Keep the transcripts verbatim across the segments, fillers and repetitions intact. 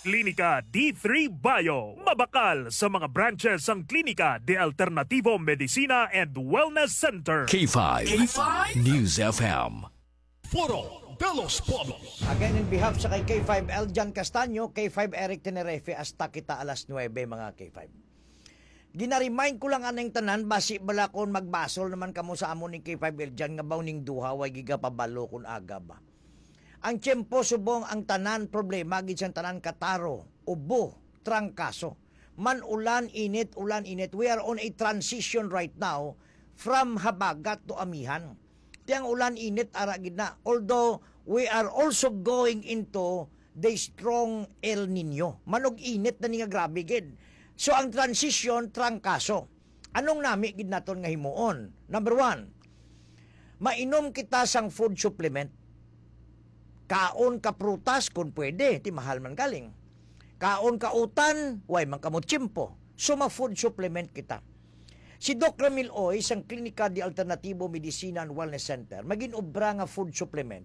Klinika D three Bio. Mabakal sa mga branches ang Klinika de Alternativo Medicina and Wellness Center. K five. K five News F M. Foro de los Pueblos. Again, in behalf sa kay K five Eljan Castaño, K five Eric Tenerife, hasta kita alas nuebe, mga K five. Gina-remind ko lang aning tanan, basi bala kon magbasol naman kamo sa amon ni K five Eljan nga baw ning duha way gigapabalo kon aga ba. Ang tiyempo subong ang tanan problema gid sang tanan kataro, ubo, trangkaso. Man ulan, init, ulan, init. We are on a transition right now from habagat to amihan. Ti ang ulan, init, ara gid na. Although, we are also going into the strong El Nino. Manog init na ni nga grabe gid. So, ang transition, trangkaso. Anong nami gid naton nga himuon? Number one, mainom kita sang food supplement. Kaon ka prutas kung pwede, ti mahal man galing. Kaon ka utan, way man kamo tiyempo. So, ma-food supplement kita. Si Doc Ramil Oy sang Klinika de Alternativo Medicina and Wellness Center, magin-obra nga food supplement.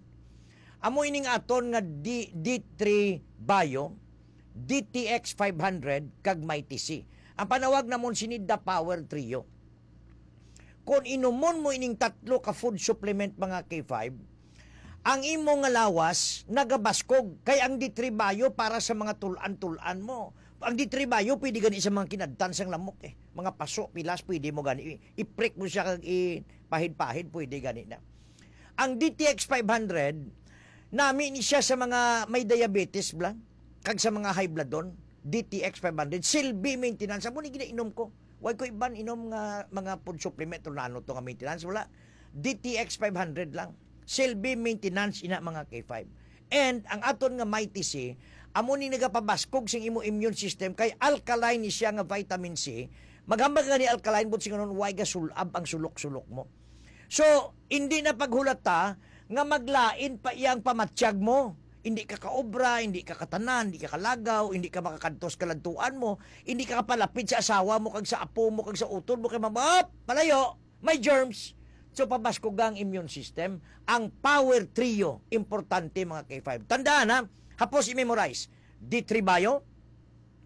Amo ining aton nga D-, D three Bio, D T X five hundred, kag Mighty C. Ang panawag namon sini The Power Trio. Kung inumon mo ining tatlo ka food supplement, mga K five, ang imo nga lawas nagabaskog, kay ang D three Bio para sa mga tulan-tulan mo. Ang D three Bio pwede gani sa mga kinadtan sang lamok, eh. Mga paso, pilas, pwede mo gani i-, i-prick mo siya kag ipahid-pahid, pwede gani na. Ang D T X five hundred, nami ni siya sa mga may diabetes bala, kag sa mga high bloodon, D T X five hundred, silbi maintenance. Amo ni ginainom ko. Way ko iban inom nga mga food supplement, tulano to nga maintenance, wala. D T X five hundred lang. Silbi maintenance ina, mga K five. And ang aton nga Mighty C, amo ni nagapabaskog sing imo immune system, kay alkaline ni siya nga vitamin C. Maghambal ka ni alkaline, but singanon, way gasul-ab ang sulok-sulok mo. So, hindi na paghulata nga maglain pa iyang pamatyag mo. Hindi ka kaobra, hindi ka katanan, hindi ka kalagaw, hindi ka makakadto sa kaladtuan mo, hindi ka kapalapit sa asawa mo, kag sa apo mo, kag sa utod mo, kay mama, palayo, may germs. So, pabaskog ang immune system. Ang power trio, importante, mga K five. Tandaan, ha, hapos i-memorize. D three Bio,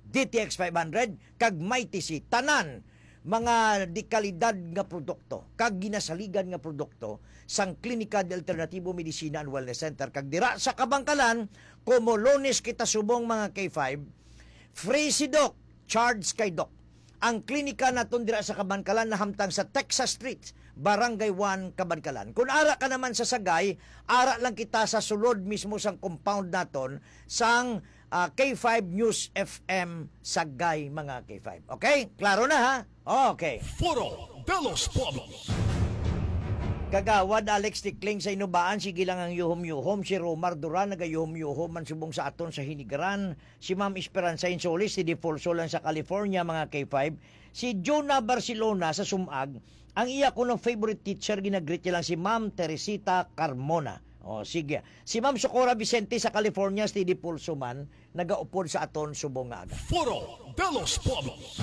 D T X five hundred, kag Mighty C. Tanan mga dekalidad nga produkto, kag ginasaligan nga produkto sang Klinika de Alternativo Medicina and Wellness Center. Kag dira sa Kabangkalan, kumo Lunes kita subong, mga K five, free si Doc, charge kay Doc. Ang klinika naton dira sa Kabangkalan nahamtang sa Texas Street, Barangay one, Kabangkalan. Kung ara ka naman sa Sagay, ara lang kita sa sulod mismo sang compound naton sang ah, K five News F M Sagay, mga K five. Okay? Klaro na, ha? Okay. Foro de los Pueblos. Kagawad Alex Tikling sa Inubaan, sige lang ang yuhom-yuhom. Si Romar Duran, nagayuhom-yuhom man subong sa aton sa Hinigaran. Si Ma'am Esperanza Insolis, si Dipolso lang sa California, mga K five. Si Jonah Barcelona sa Sumag, ang iya kuno favorite teacher, ginagreet niya lang si Ma'am Teresita Carmona. O, sige. Si Ma'am Socorro Vicente sa California, steady pulso man, nagaupod sa aton subong nga aga. Foro de los Pueblos.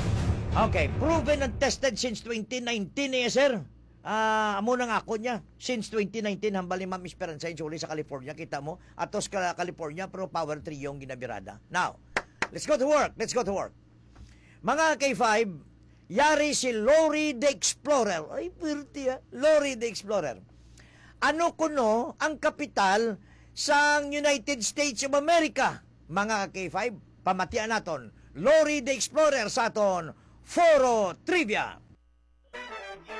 Okay, proven and tested since twenty nineteen, eh, sir. Ah, amo nang ako niya. Since twenty nineteen, hambal ni Ma'am Esperanza Insolis sa California. Kita mo, atos ka California, pero power trio ang ginabirada. Now, let's go to work. Let's go to work. Mga K five, yari si Lori the Explorer. Ay, pwerte, ah. Lori the Explorer. Ano kuno ang kapital sang United States of America? Mga K five, pamatian naton. Lori the Explorer sa aton Foro Trivia.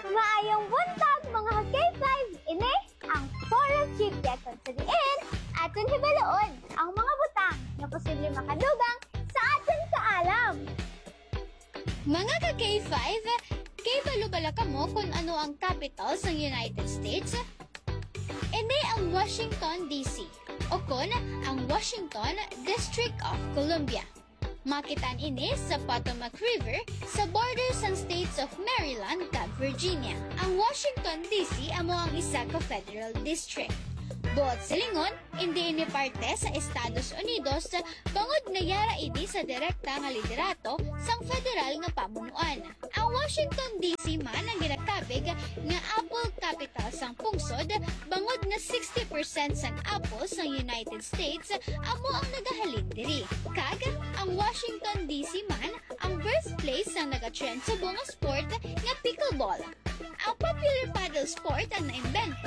Maayong buntag, mga K five. Ini ang Foro Trivia, kung sa diin aton hibaluon ang mga butang nga posible makadugang sa aton kaalam. Mga ka K five, kay balo bala kamo kung ano ang capital sang United States? Ini ang Washington, D C, o kon ang Washington, District of Columbia. Makitaan ini sa Potomac River sa border sang states of Maryland kag Virginia. Ang Washington, D C amo ang isa ka federal district. Buot silingon, indi ini parte sa Estados Unidos, bangod nga yara ini sa direkta nga liderato sang federal nga pamunuan. Ang Washington, D C man ang ginakabig nga apple capital sang pungsod, bangod nga sixty percent sang apple sang United States amo ang nagahalin diri, kag ang Washington D C man ang birthplace sang nagatrend subong nga sport nga pickleball. Ang popular paddle sport ang naimbento